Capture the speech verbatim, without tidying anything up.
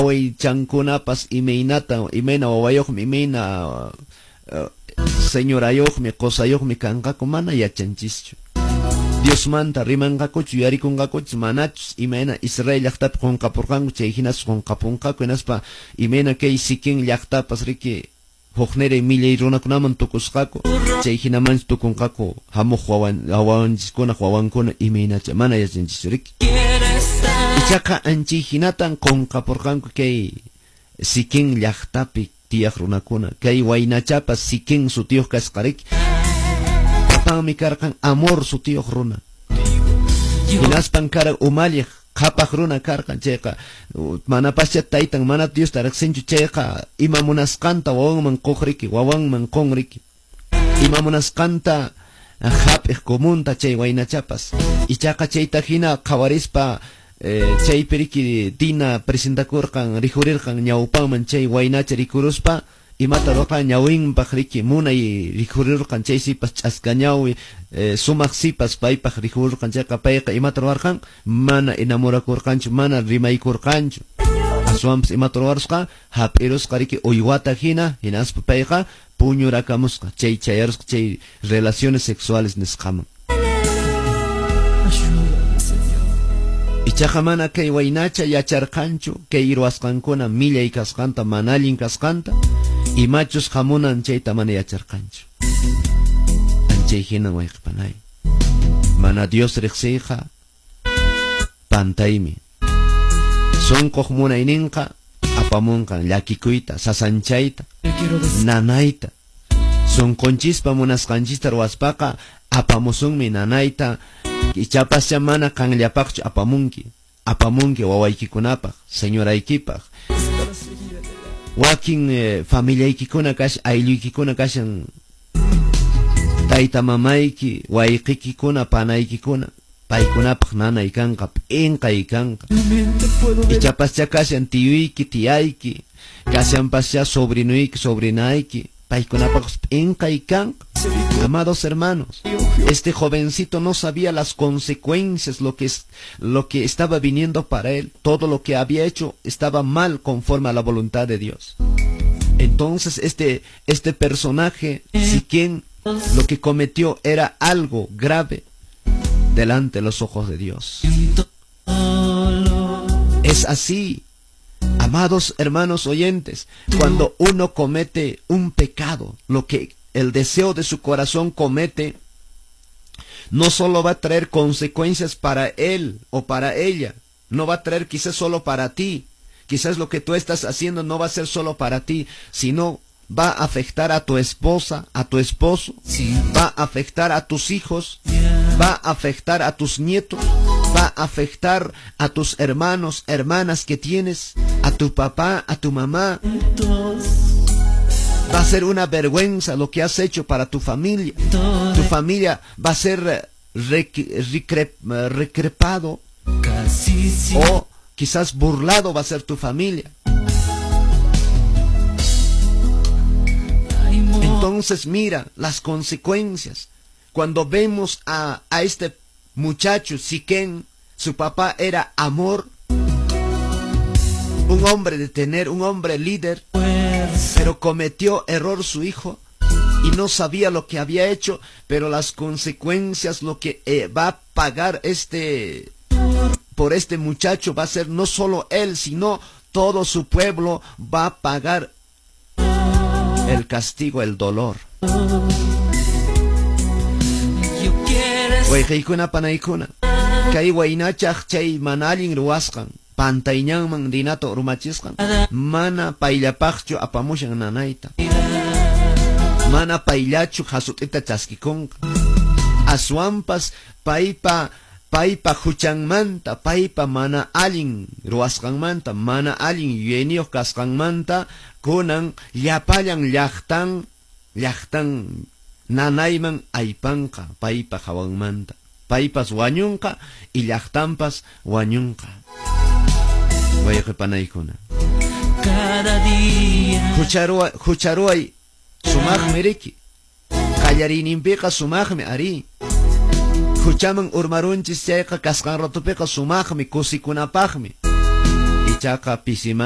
Wawaychankunapas imaynata, imayna wawayuqmi, imayna uh, señorayuqmi, qusayuqmi kanqaku, mana yachanchischu. Diosmanta rimanqakuchu, yuyarikunqakuchu, manachus imayna Israel llaqtapi qunqapurqanku, chay hinas qunqapunqaku, hinaspa imayna kay Siquem llaqtapas riki hukniray millay runakunaman tukusqaku, chay hinamanchu tukunqaku hamuq wawan wawanchiskunaq wawankuna imaynacha, mana yachanchischu riki. Ichaqa anchay hinatan qunqapurqanku kay Siquem llaqtapi tiyaq runakuna, kay waynachapas Siquem sutiyuq kasqa riki. Papanmi karqan Amor sutiyuq runa. Hinaspan karan umalliq qhapaq runa karqan, chayqa manapascha taytan mana Diosta riqsinchu, chayqa ima munasqanta wawanman quq riki, wawanman qun riki. Ima munasqanta hap'iq comunta chay waynachapas. Ichaqa chayta hina qhawarispa chaypi riki Dina presentakurqan, rikurirqan ñawpanman chay waynacha rikuruspa imata ruqa ñawinpaq riki munay rikurirqan, chay sipas ch'aska ñawi sumaq sipas paypaq rikurirqan, chayqa payqa imata ruwarqan mana enamorakurqanchu, mana rimaykurqanchu. Aswanpas imata ruwarusqa hap'irusqa riki uywata hina, hinaspa payqa puñurakamusqa, chay chayarusqa chay relaciones sexuales nisqaman. Ichaqa mana kay waynacha yacharqanchu kay ruwasqankuna millay kasqanta, mana allin kasqanta, imachus hamunan chayta mana yacharqanchu. Anchay hinan wayqipanay. Mana Dios riqsiyqa pantaymi. Sunquq munayninqa apamunqan llakikuyta, sasanchayta, nanayta. Sunqunchispa munasqanchista ruwaspaqa apamusunmi nanayta. Ichapascha mana qanllapaqchu apamunki, apamunki wawaykikunapaq, señoraykipaq. Wakin eh, familiaykikuna kash, aylluykikuna kashan, tayta mamayki, wayqikikuna, panaykikuna, paykunapaq nanay kanqa, p'inqay kanqa. Ichapascha kashan tiyuyki, tiyayki, kashanpascha sobrinuyki, sobrinayki, paykunapaq p'inqay kanqa. Amados hermanos, este jovencito no sabía las consecuencias, lo que, es, lo que estaba viniendo para él. Todo lo que había hecho estaba mal conforme a la voluntad de Dios. Entonces este, este personaje, Siquem, lo que cometió era algo grave delante de los ojos de Dios. Es así, amados hermanos oyentes, cuando uno comete un pecado, lo que el deseo de su corazón comete, no solo va a traer consecuencias para él o para ella, no va a traer quizás solo para ti, quizás lo que tú estás haciendo no va a ser solo para ti, sino va a afectar a tu esposa, a tu esposo, va a afectar a tus hijos, va a afectar a tus nietos, va a afectar a tus hermanos, hermanas que tienes, a tu papá, a tu mamá. Va a ser una vergüenza lo que has hecho para tu familia. Tu familia va a ser recrepado o quizás burlado va a ser tu familia. Entonces mira las consecuencias. Cuando vemos a, a este muchacho Siquem, su papá era Amor, un hombre de tener, un hombre líder, pero cometió error su hijo y no sabía lo que había hecho, pero las consecuencias, lo que eh, va a pagar este por este muchacho va a ser no solo él, sino todo su pueblo va a pagar el castigo, el dolor. Wayqaykuna panaykuna, kay waynachaq chay mana allin ruwasqan, pantayñanman Dinata urmachisqan, mana payllapaqchu apamushan nanayta, mana payllachu hasut'ita chaskikunqa, aswanpas paypa paypa huchanmanta, paypa mana allin ruwasqanmanta, mana allin yuyayniyuq kasqanmanta, kunan llapallan llaqtan llaqtan nanayman aypanqa paypa hawanmanta, paypas wañunqa y llaqtanpas wañunqa. Wayqipanaykuna, cada día hucharuay hucharuay sumaqmi riki, qallariyninpiqa sumaqmi ari, huchaman urmarunchis chayqa kasqan ratupiqa sumaqmi, kusikunapaqmi, ichaqa pisiman